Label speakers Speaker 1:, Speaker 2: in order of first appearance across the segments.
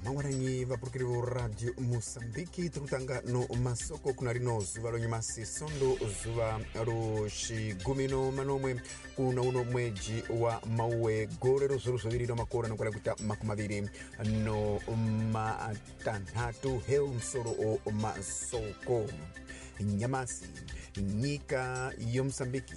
Speaker 1: Mangwananyi vapurukiri vo Radio Moçambique, tiri kutanga no masoko kuna rino zuva lonyamasi sondo zuva roxigumi no manomwe kuna uno mweji wa mauwe gore ro zviro zviviri no makore anokwana kuita makumi maviri no matanhatu. Heu musoro o masoko nyamasi. Nyika yoMosambiki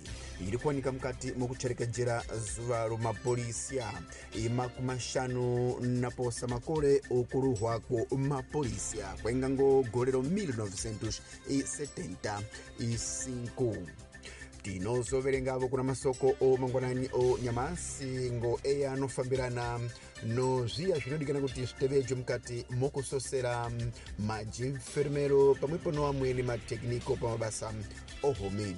Speaker 1: iri kuwanika mukati mokucherekedzera zuva romapolisia imakumashanu naposa makore okuruhwa kwomapolisia kwenga ngo gore ro 1975. Tinozoverengavo kuna masoko o mangwanani o nyamasi ngo eya anofambirana no zviya zvinodikana kuti zvitevejwe mukati mokusosera majinfermero pamwepo no amweni matekniko pamabasa ohomi.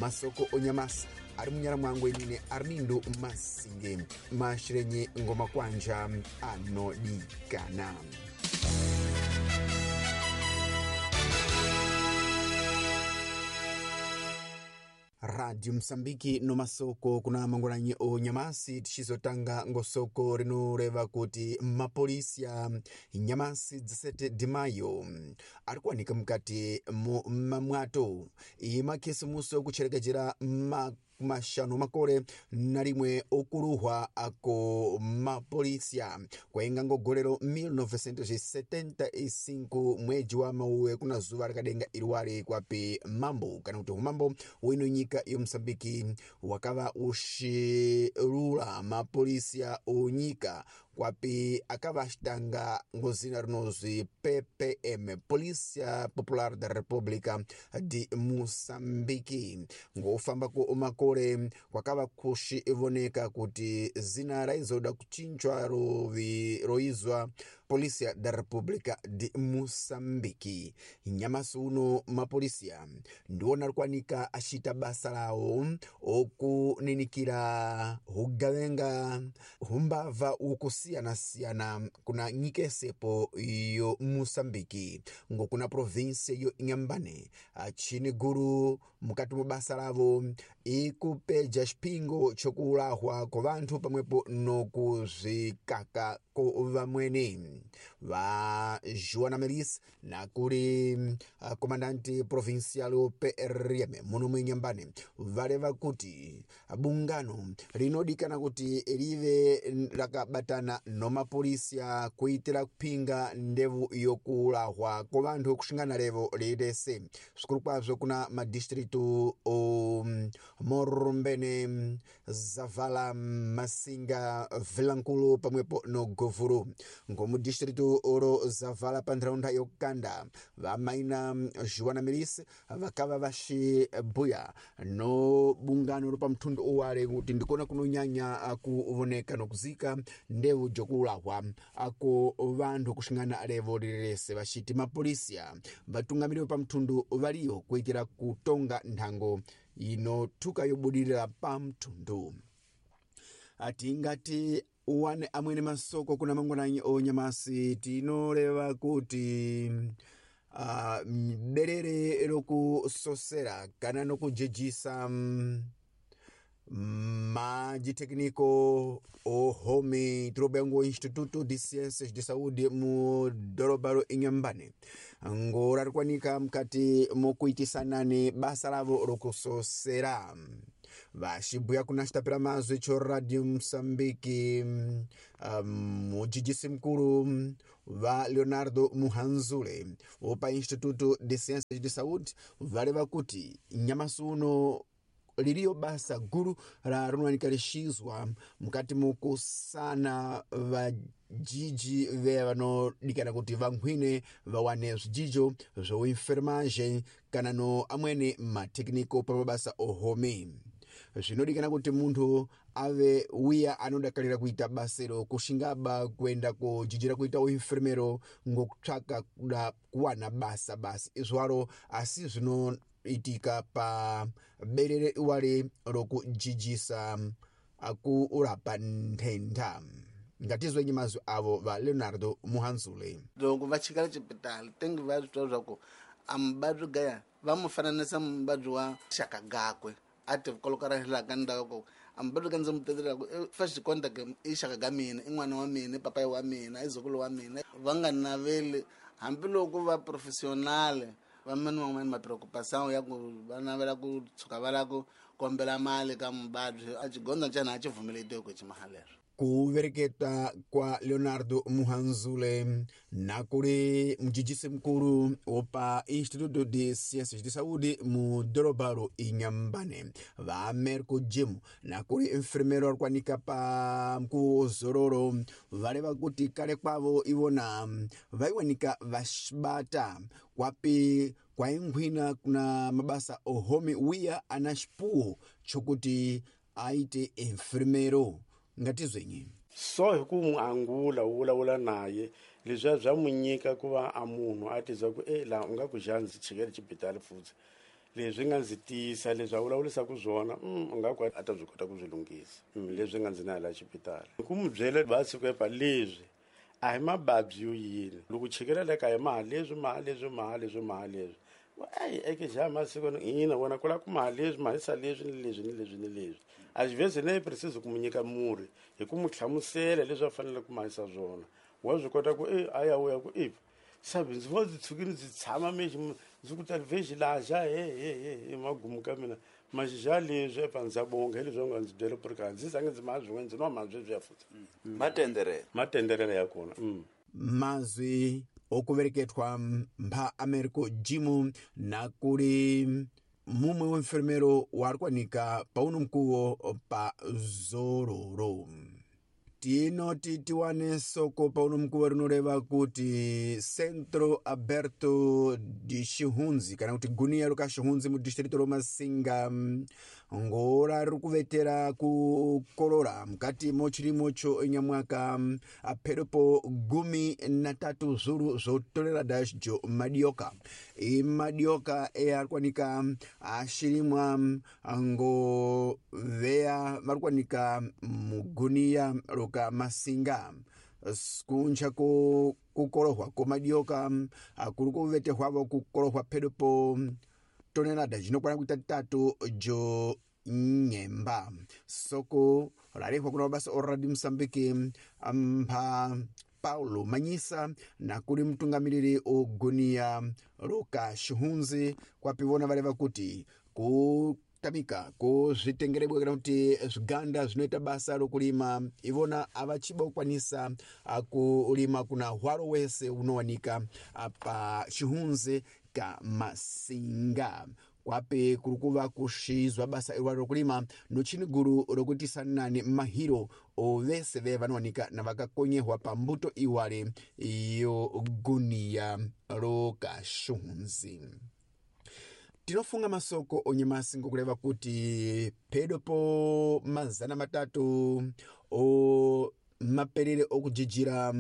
Speaker 1: Masoko onyamasi ari munyara mwangu inine Armindo Masinge mashirenyi ngoma kwanja anodikana. Radio Mosambiki no masoko kuna mangwananyi o nyamasi, tichizotanga ngosoko rinoreva kuti mapolisia nyamasi 17 de maio ari kuwanika mukati mo mamwato imakhisimuso kucherekedzera mashanu makore na rimwe okuruhwa ako mapolisia kwainga ngo gore ro 1975 mweji wa mauwe kuna zuva rakadenga iriwari kwapi mambo kana kuti umambo wino nyika yoMosambiki wakava uxirula mapolisia onyika kwapi akava axitanga ngo zina rinozwi PPM, Polícia Popular da República de Moçambique. Ngofamba ku makore kwakava kuxivoneka kuti zina raizoda kuchinjwa roizwa Polícia da República de Moçambique. Nyamasi uno mapolisia ndiwona rikwanika axiita basa lawo okuninikira hugavenga humbavha ukusiyana-siyana kuna nyika yesepo yo Moçambique ngokuna provinsia yo Inhambane chini guru mukati mo basa lavo ikupeja xipingo chokulahwa kwa vanthu pamwepo nokuzvikaka ko vamweni. Va Joana Melis nakuli comandante provincial PRM muno mu Inhambane valeva kuti bungano rinodikana kuti live rakabatana no mapolisia kuitira kupinga ndevu yokulahwa kwa vanthu kuxingana levo lilese svikulu kwazvo kuna madistritu o Morrumbene, Zavala, Massinga, Vilankulu pamwepo no Govuru. Ngomudistritu oro Zavala pa ntharaunda yokanda vamaina Joana Melis vakava vaxibuya no bungano ro pa mthundu uwale kuti ndikona kunonyanya kuvoneka nokuzika ndevu jokulahwa ako vanthu kuxingana levo lilese vaxiti mapolisia vatungamiri pa mthundu valiyo kuitira kutonga nthango inothuka yobudirira pa mthundu. Atingati uwane amwene masoko kuna mangwananyi onyamasi tinoreva kuti berere rokusosera kana nokujejisa majitekniko ohomi tirobengo Instituto de Ciências de Saúde mu doroba ro Inhambane ngo rarikwanika mukati mokuitisanani basa lavo rokusosera. Vaxibuya kuna xitapira mazwi cho Radio Moçambique mujijisi mukulu va Leonardo Muhanzule wopa Instituto de Ciências de Saúde valeva kuti nyamasi uno liliyo basa guru la rinowanika lixizwa mukati mukusana vajiji ve vanodikana kuti vankhwine vawane zvijijo zvoinfermagem kana no amweni matekniko pa mabasa ohomi. Zvinodikana kuti munthu ave wiya anodakalira kuita basero kuxingaba kuenda kojijira kuita uinfermero ngokutsvaka kuda kuwana basa basi izwaro, asi zvinoitika pa berere iwale rokujijisa akurapa nthenda. Ngatizwenyi mazwi avo va Leonardo Muhanzule.
Speaker 2: Loko va chikala xipitali tengi va swi twa swa ku a muvabyi gaya va mu fananisa muvabyi wa xaka gakwe a ti kolokara hilaka ndzhaku ku A mubabyi ka ndzi mu tekelela ku fa xikonta i xaka ka mina, i n'wana wa mina, i papayi wa mina, i zukulu wa mina. Va nga naveli hambiloko va professional va mani van'wani ma preocupação ya ku va navela ku tshuka va lava ku kombela mali ka muvabyi a xigondzo ntsena a xi pfumeletiwi ku xi mahalero.
Speaker 1: Kuvereketa kwa Leonardo Muhanzule nakuli mujijisi mukulu wopa Instituto de Ciências de Saúde mu dorobalo Inhambane, va Merco Jim nakuli enfermeiro ari kuwanika pa mkuwo zororo valeva kuti kale kwavo ivona vaiwanika vaxibata kwapi kwainkhwina kuna mabasa ohomi wiya ana xipuwo chokuti aite enfermeiro. Ngatizwenyi
Speaker 3: so hi ku n'wi angula u vulavula naye leswiya bya n'wi nyika ku va a munhu a tizwa ku e laha u nga ku xa ndzi chikele xibitali futhi leswi nga ndzi tiyisa leswi a vulavurisaka swona u nga ku a ta byi kota ku swi lunghisa leswi nga ndzi na laha xibitali hi ku n'wi byela va siku epa leswi a hi mavabyi yo yini loko chikela le kaya maha leswi maha leswi maha leswi maha leswi eyi eke xa masiku ina wena ku lava ku maha leswi mahisa leswi ni leswi ni leswi ni leswi a xi vhezi ne preciso ku mu nyika murhi hi ku mu hlamusela leswi a fanele ku mahisa swona wa swi kota ku e a ya u ya ku e sabi ndzi vo ndzi tshukile ndzi tshama mexi ndzi ku talivexi laha xa he he he he magumu ka mina maxixa leswi epa ndza bonga hi leswi va nga ndzi byela ku ri ka ndzi zange ndzi maha swin'wana ndzi nwa maha sweswiya futhi
Speaker 4: matenderela
Speaker 3: matenderela ya kona.
Speaker 1: Mazwi okuvereketwa mpha Americo Jimu nakuli mumwe wa enfermeiro wari kuwanika pauno mkuwo pa zororo. Tinoti tiwane soko pauno mkuwo rinoreva kuti Centro Aberto de Xihundzi kana kuti gunia roka Xihundzi mu distrito ro Masinga ngora riri kuvetera kukorora mukati mo chirimo cho nyamwaka apherepo 13 zvuru zvotorera dash jo madioka imadioka eari kuwanika ashirimwa ngo veya vari kuwanika muguniya roka Masinga kuncha kukorohwa komadioka kuri kuvetehwavo kukorohwa phedopo tonelada jinokwana kuita tatu jo nyemba. Soko rarehwa kuna mabasa oradi Mosambiki mpha Paulo Manyisa nakuli mtungamiriri ogunia roka Xihundzi kwapi vona vareva kuti kutamika kuzvitengerebwa kana kuti zviganda zvinoita basa rokulima ivona avachiba kukwanisa kulima kuna hwaro wese unowanika pa Xihundzi ka Masinga kwape kuri kuva kushizwa basa irwaro rokulima nochini guru rokuitisanani mahiro ovese ve vanowanika na vakakonyehwa pambuto iwale yo guniya rokaxihundzi. Tinofunga masoko onyamasi ngokureva kuti pedo po 300 o maperere okujijira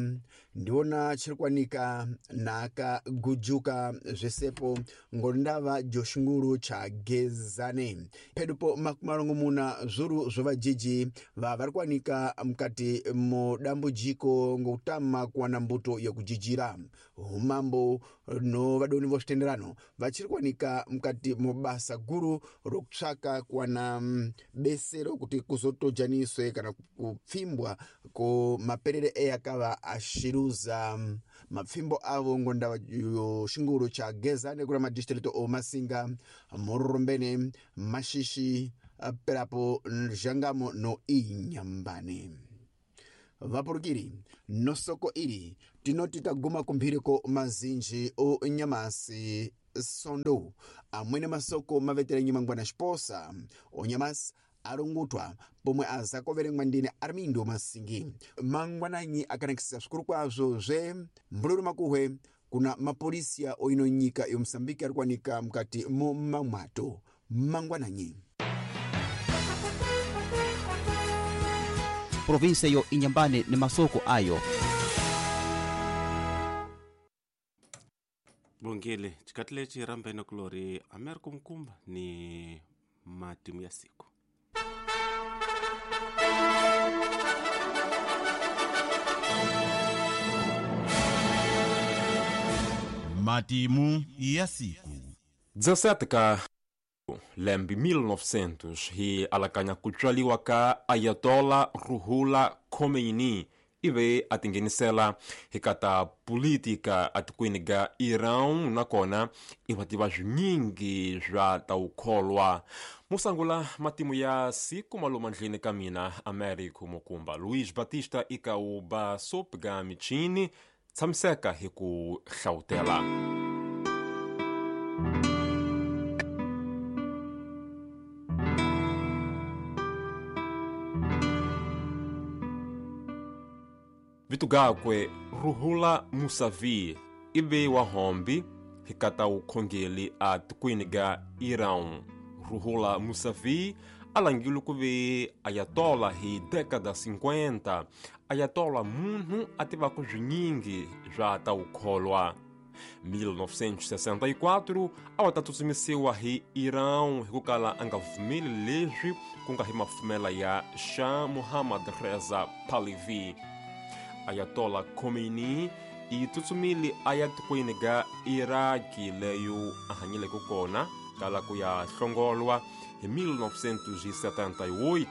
Speaker 1: ndiona chiri kuwanika nakagujuka zvesepo ngondava joshinguru cha gezane pedupo 60 zvuru zvovajiji vari kuwanika mukati mudambujiko ngokutama kuwana mbuto yekujijira. Umambo no vadoni vozvitenderano vachiri kuwanika mukati mubasa guru rokutsvaka kuwana besero kuti kuzotojaniswe kana kupfimbwa ko maperere eyakava ashiruza mapfimbo avo ngondava yoshinguru cha gezane kura madistrito o Masinga, Mururumbene, Mashishi, perapo Jangamo no Inhambane. Vapurukiri nosoko iri tinoti taguma kumphiriko mazinji o nyamasi sondo amwene masoko mavetera nyimangwana xiposa onyamasi arungutwa pomwe azakoverengwa ndine Armindo Masingi mangwananyi akanakisa svikuru kwazvo zve mbululu makuhwe kuna mapolisiya oino nyika yomusambiki ari kuwanika mukati mo mamwato mangwananyi.
Speaker 4: Provinsia yo Inhambane ni masoko ayo.
Speaker 5: Bongile chikati lechi rambene kulori America Mkumba ni matimu ya siku.
Speaker 6: Matimu ya siku.
Speaker 7: 17 ka
Speaker 5: Lembe 1900 hi alakanya ku tswaliwa ka Ayatollah Ruhollah Khomeini ive a tinghenisela hi ka ta politika atikweni ga Iran nakona i va tiva swinyingi swa ta wukholwa. Musangula matimu ya siku maluma ndlini ka mina Americo Mukumba Luis Batista ika u basop ga michini tshamiseka hi ku hlawutela. Vito gakwe Ruhollah Musavi ive wa hombi hi ka ta wukhongeli a tikweni ga Iran. Ruhollah Musavi a langile ku ve Ayatollah hi década 50. Ayatollah munhu a tivaka swinyingi swa ta wukholwa. 1964 a wa ta tsutsumisiwa hi Iran hi ku kala a nga vumeli leswi ku nga hi mafumela ya Shah Mohammad Reza Pahlavi. Ayatollah Khomeini i tsutsumile a ya tikweni ga Iraki leyo a hanyileke kona kala ku ya hlongolwa hi 1978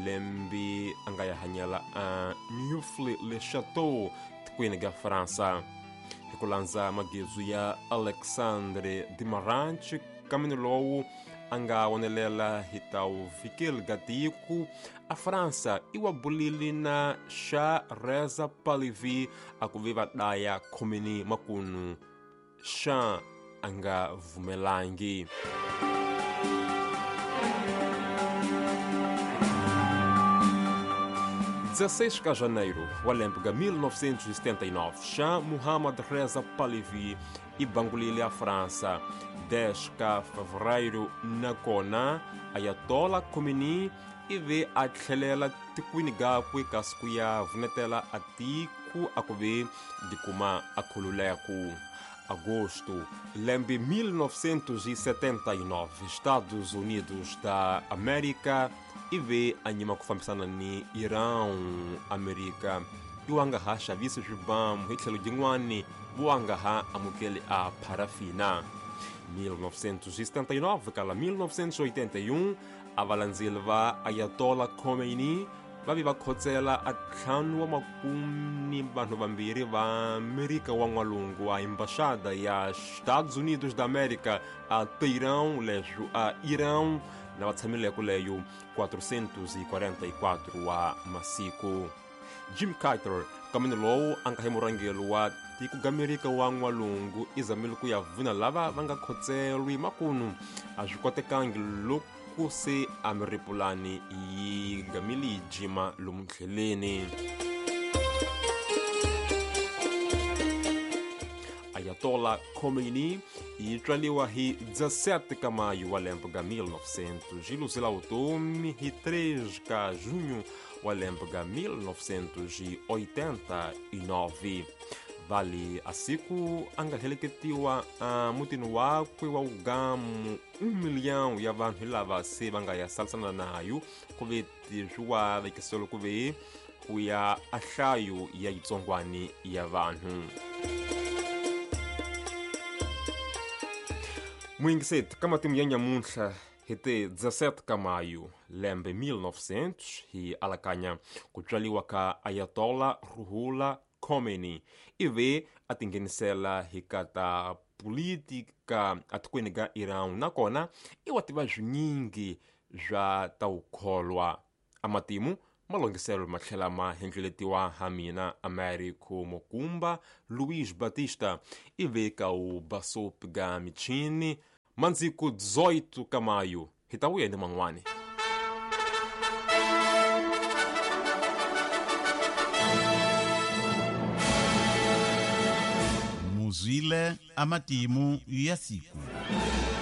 Speaker 5: lembe a nga ya hanyela a Neauphle-le-Château tikweni ga Fransa. Hi ku landza magezu ya Alexandre Dimarant kamini lowu a nga wonelela hi ta wufikeli ga tiko a Fransa i wa bulile na Shah Reza Pahlavi a ku ve va daya Khomeini makunu Shah a nga vumelangi. 16 de janeiro wa lembe ga 1979, Shah Mohammad Reza Pahlavi i bangulile a França. 10 de fevereiro nakona Ayatollah Khomeini ive a tlhelela tikweni gakwe kasi ku ya vunetela a tiku a ku ve dikuma a khululeku. Agosto lembe 1979, Estados Unidos da América ive a nyima ku fambisana ni Iran. Amerika i wa nga ha xavisi swibamu hi tlhelo jin'wani vo nga ha amukeli a parafina. 1979 kala 1981 a valandzeli va Ayatollah Khomeini va vi va khotsela a ntlhanu wa makume ni vanhu vambirhi va Amerika wa n'walungu a embaxada ya Estados Unidos da América a Teherão leswo a Iran na va tshamileko leyo 444 wa masiku. Jim Carter kamini lowu a nga hi murhangeri wa tiko ga Amerika wa n'walungu i zamile ku ya vuna lava va nga khotselwi makunu a swi kotekangi loko se a miripulani yi gamile yi jima lomu ndleleni. Ayatollah Khomeini yi tswaliwa hi 17 ka maio wa lembe ga 1900 yi luzela vutomi hi 3 ka junho wa lembe ga 1989. Vale a siku a nga heleketiwa a mutini wakwe wa ugamu 1 milhão ya vanhu lava se va nga ya salisana nayo ku ve swi wa vekiselo ku ve ku ya a nhlayo ya yitsongwani ya vanhu. Muyingiseti ka matimu ya nyamuntlha hi te 17 ka maio lembe 1900 hi alakanya ku tswaliwa ka Ayatollah Ruhollah Khomeini ive a tinghenisela hi ka ta politika atikweni ga Iran nakona i wa tiva swinyingi swa ta wukholwa. A matimu malongiselo ma tlhela ma hendleletiwa ha mina Americo Mukumba Luis Batista ive ka u basop ga michini mandziku 18 ka maio hi ta vuya ni man'wani.
Speaker 6: Muzwile amatimu ya siku.